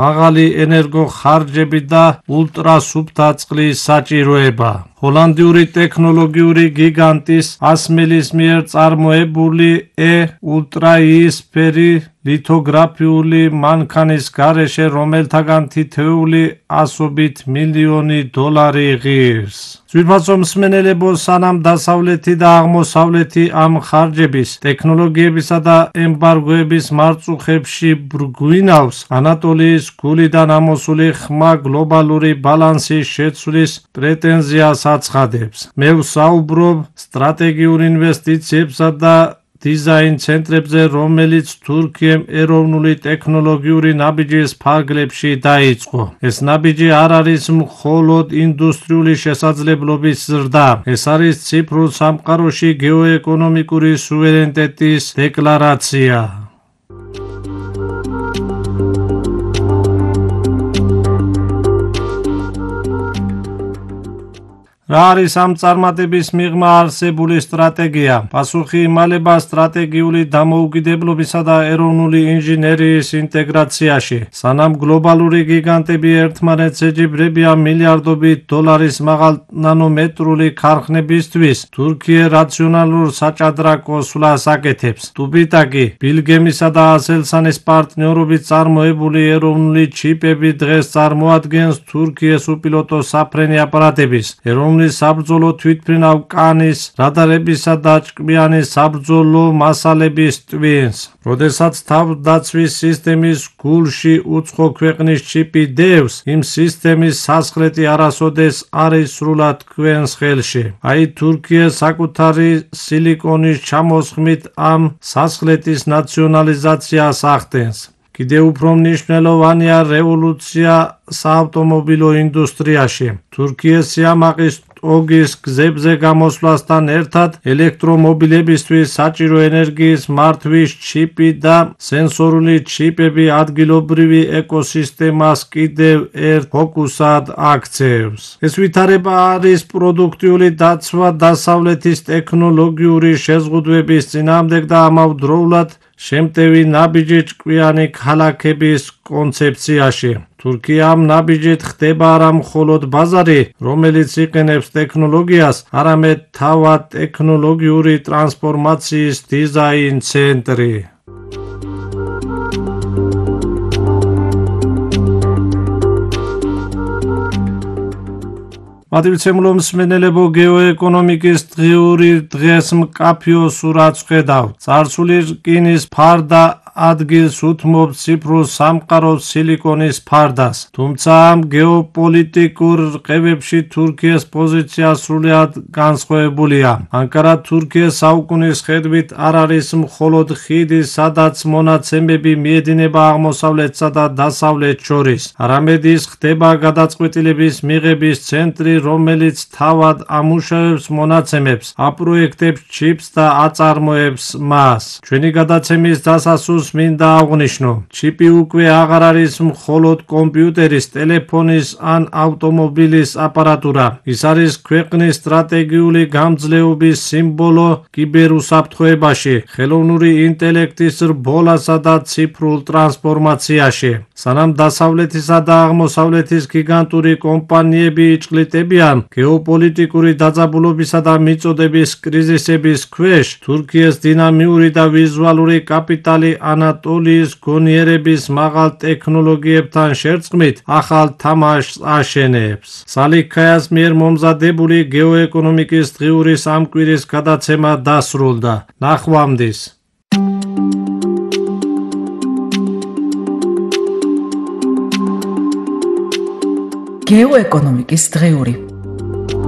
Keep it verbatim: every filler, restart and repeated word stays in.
მაღალი ენერგოხარჯები და ულტრასუფთა წყლის საჭიროება. ჰოლანდიური ტექნოლოგიური გიგანტის ასმელის მიერ წარმოებული E ულტრაიისფერი ლითოგრაფიული მანქანის გარეშე, რომელთაგან თითოეული ასობით მილიონი დოლარი ღირს. ძვირფასო მსმენელებო, სანამ დასავლეთი და აღმოსავლეთი ამ ხარჯების, ტექნოლოგიებისა და ემბარგოების მარწუხებში ბრგვინავს, ანატოლიის გულიდან ამოსული ხმა გლობალური ბალანსის შეცვლის პრეტენზიას აცხადებს. მე ვსაუბრობ სტრატეგიურ ინვესტიციებსა და დიზაინ ცენტრებზე, რომელიც თურქიამ ეროვნული ტექნოლოგიური ნაბიჯის ფარგლებში დაიწყო. ეს ნაბიჯი არ არის მხოლოდ ინდუსტრიული შესაძლებლობის ზრდა, ეს არის ციფრულ სამყაროში გეოეკონომიკური სუვერენიტეტის დეკლარაცია. რა არის ამ წარმატების მიღმა არსებული სტრატეგია? პასუხი იმალება სტრატეგიული დამოუკიდებლობისა და ეროვნული ინჟინერიის ინტეგრაციაში. სანამ გლობალური გიგანტები ერთმანეთს ეჯიბრებიან მილიარდობით დოლარის მაღალნანომეტრული ქარხნებისთვის, თურქია რაციონალურ საჭადრაკო სვლას აკეთებს. ტუბიტაკი, ბილგემისა და ასელსანის პარტნიორობით წარმოებული ეროვნული ჩიპები დღეს წარმოადგენს თურქიის უპილოტო საფრენი აპარატების, ეროვნული საბრძოლო თვითმფრინავ კანის, რადარებისა და ჭკვიანი საბრძოლო მასალების ტვინს. როდესაც თავდაცვის სისტემის გულში უცხო ქვეყნის ჩიპი დევს, იმ სისტემის სასახლეთი არასოდეს არის სრულად თქვენს ხელში. აი, თურქია საკუთარი სილიკონის ჩამოსხმით ამ სასახლეთის ნაციონალიზაციას ახდენს. კიდევ უფრო მნიშვნელოვანია რევოლუცია საავტომობილო ინდუსტრიაში. თურქია სიამაყის ოგის გზებზე გამოსვლასთან ერთად ელექტრომობილებისთვის საჭირო ენერგიის მართვის ჩიპი და სენსორული ჩიპები ადგილობრივი ეკოსისტემას კიდევ ერთ ფოკუსად აქცევს. ეს ვითარება არის პროდუქტიული დაცვა დასავლეთის ტექნოლოგიური შეზღუდვების წინააღმდეგ და ამავდროულად შემტევი ნაბიჯი ჭკვიანი ქალაქების კონცეფციაში. თურქია ამ ნაბიჯით ხდება არა მხოლოდ ბაზარი, რომელიც იყენებს ტექნოლოგიას, არამედ თავად ტექნოლოგიური ტრანსფორმაციის დიზაინ ცენტრი. მადივცემლო მსმენელებო, გეოეკონომიკის დღიური დღეს მკაფიო სურათს ხედავთ. წარსული რკინის ფარდა ადგილს უთმობს ციფრულ სამყაროს სილიკონის ფარდას. თუმცა ამ გეოპოლიტიკურ რყევებში თურქიის პოზიცია სრულიად განსხვავებულია. ანკარა თურქიის საუკუნის ხედვით არ არის მხოლოდ ხიდი, სადაც მონაცემები მიედინება აღმოსავლეთსა და დასავლეთს შორის, არამედ ის ხდება გადაწყვეტილების მიღების ცენტრი, რომელიც თავად ამუშავებს მონაცემებს, აპროექტებს ჩიპს და აწარმოებს მას. ჩვენი გადაცემის დასასრულს მინდა აღვნიშნო, ჩიპი უკვე აღარ არის მხოლოდ კომპიუტერის, ტელეფონის ან ავტომობილის აპარატურა. ის არის ქვეყნის სტრატეგიული გამძლეობის სიმბოლო კიბერუსაფრთხოებაში, ხელოვნური ინტელექტის რბოლასა და ციფრულ ტრანსფორმაციაში. სანამ დასავლეთისა და აღმოსავლეთის გიგანტური კომპანიები იჭყლიტებიან გეოპოლიტიკური დაძაბულობისა და მიწოდების კრიზისების ქვეშ, თურქიის დინამიური და ვიზუალური კაპიტალი ანატოლიის გონიერების მაღალ ტექნოლოგიებთან შერწყმით ახალ თამაშს აშენებს. სალიქ-ქაიას მიერ მომზადებული გეოეკონომიკის დღიური სამკვირის გადაცემა დასრულდა. ნახვამდის. გეოეკონომიკის დღიური